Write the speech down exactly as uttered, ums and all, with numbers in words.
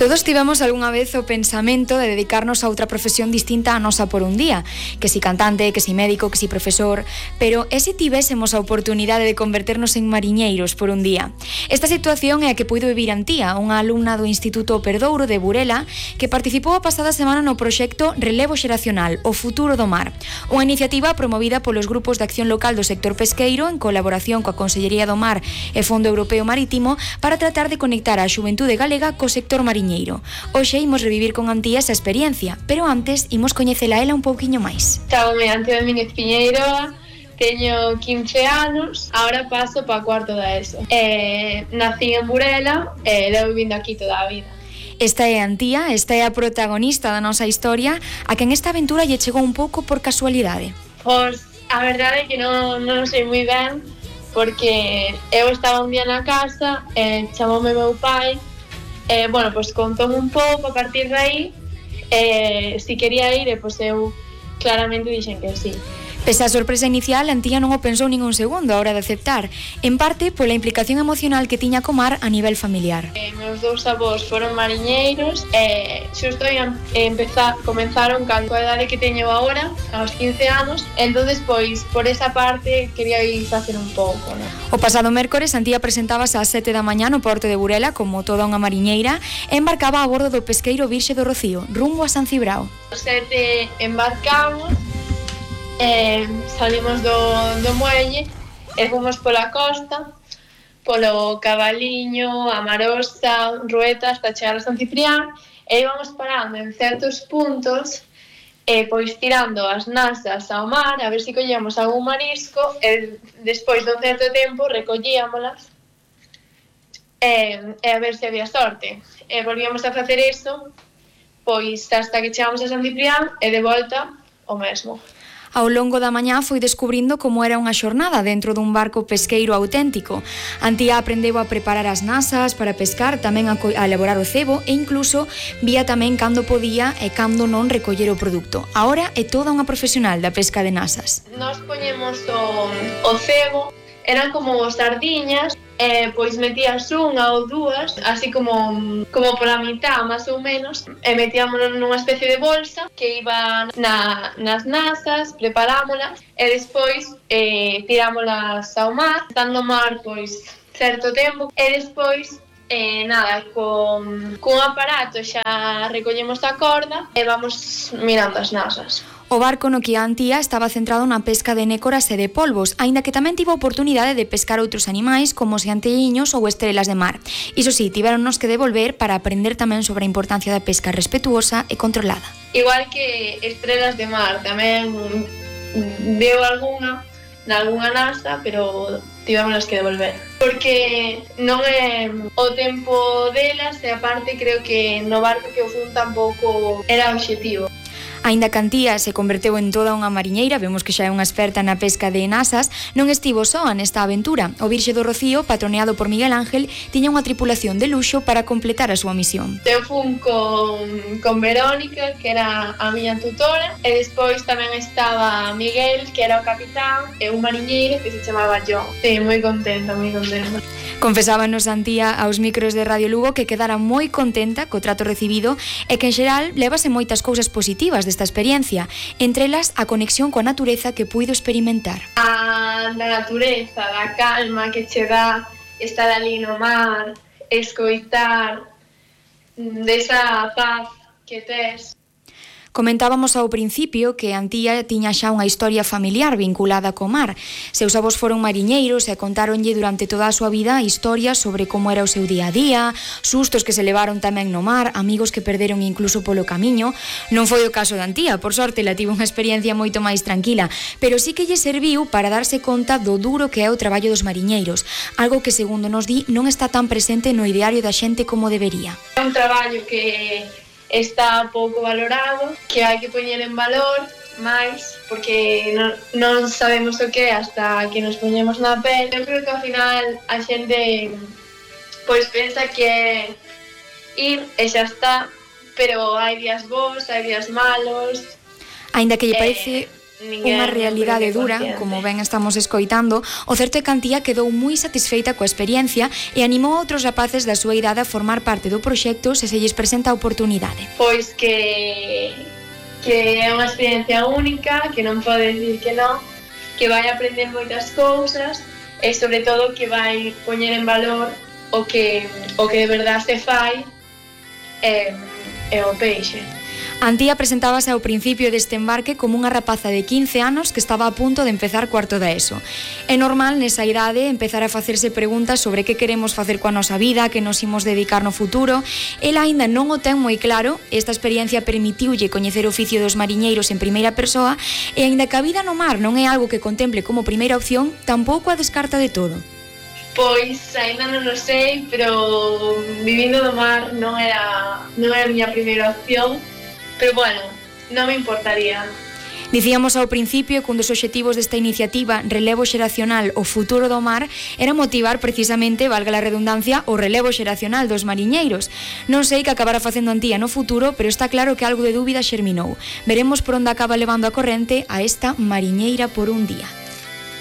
Todos tivemos algunha vez o pensamento de dedicarnos a outra profesión distinta á nosa por un día, que si cantante, que si médico, que si profesor, pero e se tivésemos a oportunidade de converternos en mariñeiros por un día? Esta situación é a que puido vivir Antía, unha alumna do Instituto Perdouro de Burela, que participou a pasada semana no proxecto Relevo Xeracional, o futuro do mar, unha iniciativa promovida polos grupos de acción local do sector pesqueiro en colaboración coa Consellería do Mar e Fondo Europeo Marítimo para tratar de conectar a xuventude galega co sector mariñeiro. Hoxe imos revivir con Antía esa experiencia, pero antes imos coñecela ela un pouquiño máis. Chámome Antía Domínguez Piñeiro, teño quince anos, agora paso para cuarto da ESO. Eh, nací en Burela e levo vivindo aquí toda a vida. Esta é Antía, esta é a protagonista da nosa historia, a quen esta aventura lle chegou un pouco por casualidade. Pois a verdade é que non, non sei moi ben, porque eu estaba un día na casa, e chamoume meu pai, e, bueno, pois contoume un pouco a partir de aí, e si quería ir, e pois eu claramente dixen que sí. Pese á sorpresa inicial, Antía non o pensou nin un segundo a hora de aceptar, en parte pola implicación emocional que tiña co mar a nivel familiar. Eh, meus dous avós foron mariñeiros e xusto ian empezar, comenzaron cando a idade que teño agora, aos quince anos, entonces pois por esa parte quería ir facer un pouco, ¿no? O pasado mércores, Antía presentábase ás sete da mañá no porto de Burela como toda unha mariñeira e embarcaba a bordo do pesqueiro Virxe do Rocío, rumbo a San Cibrao. Os sete embarcamos, Eh, salimos do, do muelle e fomos pola costa, polo Cabaliño, Amarosa, Rueta, hasta chegar a San Ciprián, e íbamos parando en certos puntos, e pois tirando as nasas ao mar, a ver se collíamos algún marisco, e despois dun certo tempo recollíamolas, e, e a ver se había sorte. E volvíamos a facer iso, pois hasta que chegamos a San Ciprián, e de volta o mesmo. Ao longo da mañá foi descubrindo como era unha xornada dentro dun barco pesqueiro auténtico. Antía aprendeu a preparar as nasas para pescar, tamén a, a elaborar o cebo e incluso vía tamén cando podía e cando non recoller o produto. Agora é toda unha profesional da pesca de nasas. Nos poñemos o, o cebo, eran como sardiñas, e pois metías unha ou dúas, así como como pola mitad, máis ou menos, e metíamonos nunha especie de bolsa que iba na, nas nasas, preparámolas, e despois eh, tirámolas ao mar, estando o mar pois certo tempo, e despois eh, nada, con, con un aparato xa recollemos a corda e vamos mirando as nasas. O barco no que a Antía estaba centrado na pesca de nécoras e de polvos, aínda que tamén tivo a oportunidade de pescar outros animais como seantelliños ou estrelas de mar. Iso sí, tivéronnos que devolver para aprender tamén sobre a importancia da pesca respetuosa e controlada. Igual que estrelas de mar, tamén deu algunha, nalgunha nasa, pero tivémonos que devolver. Porque non é o tempo delas e aparte creo que no barco que o fun tampouco era o obxectivo. Aínda que Antía se converteu en toda unha mariñeira, vemos que xa é unha experta na pesca de nasas, non estivo soa nesta aventura. O Virxe do Rocío, patroneado por Miguel Ángel, tiña unha tripulación de luxo para completar a súa misión. Eu fun con, con Verónica, que era a miña tutora, e despois tamén estaba Miguel, que era o capitán, e un mariñeiro que se chamaba John. Sí, moi contenta, moi contenta. Confesábanos Antía aos micros de Radio Lugo que quedara moi contenta co trato recibido e que en xeral levase moitas cousas positivas desta experiencia, entre elas a conexión coa natureza que puido experimentar. A da natureza, da calma que che dá estar ali no mar, escoitar, desa paz que tes. Comentábamos ao principio que Antía tiña xa unha historia familiar vinculada co mar. Seus avós foron mariñeiros e contáronlle durante toda a súa vida historias sobre como era o seu día a día, sustos que se levaron tamén no mar, amigos que perderon incluso polo camiño. Non foi o caso de Antía, por sorte, la tivo unha experiencia moito máis tranquila, pero sí que lle serviu para darse conta do duro que é o traballo dos mariñeiros, algo que, segundo nos di, non está tan presente no ideario da xente como debería. É un traballo que está pouco valorado, que hai que poñer en valor máis, porque non, non sabemos o que é hasta que nos poñemos na pel. Eu creo que ao final a xente pois pensa que é ir e xa está, pero hai días bons, hai días malos. Aínda que lle parece... Eh, unha realidade dura, como ben estamos escoitando. O certo é que Antía quedou moi satisfeita coa experiencia e animou a outros rapaces da súa idade a formar parte do proxecto se se lles presenta a oportunidade. Pois que que é unha experiencia única, que non pode dicir que non, que vai aprender moitas cousas e sobre todo que vai poñer en valor o que o que de verdade se fai é, é o peixe. Antía presentábase ao principio deste embarque como unha rapaza de quince anos que estaba a punto de empezar cuarto da ESO. É normal nesa idade empezar a facerse preguntas sobre que queremos facer coa nosa vida, que nos imos dedicar no futuro. Ela aínda non o ten moi claro, esta experiencia permitiulle coñecer o oficio dos mariñeiros en primeira persoa e aínda que a vida no mar non é algo que contemple como primeira opción, tampouco a descarta de todo. Pois aínda non o sei, pero vivindo do mar non era, non era a miña primeira opción. Pero bueno, non me importaría. Dicíamos ao principio que un dos obxectivos desta iniciativa Relevo Xeracional o Futuro do Mar era motivar precisamente, valga a redundancia, o relevo xeracional dos mariñeiros. Non sei que acabará facendo Antía no futuro, pero está claro que algo de dúbida xerminou. Veremos por onde acaba levando a corrente a esta mariñeira por un día.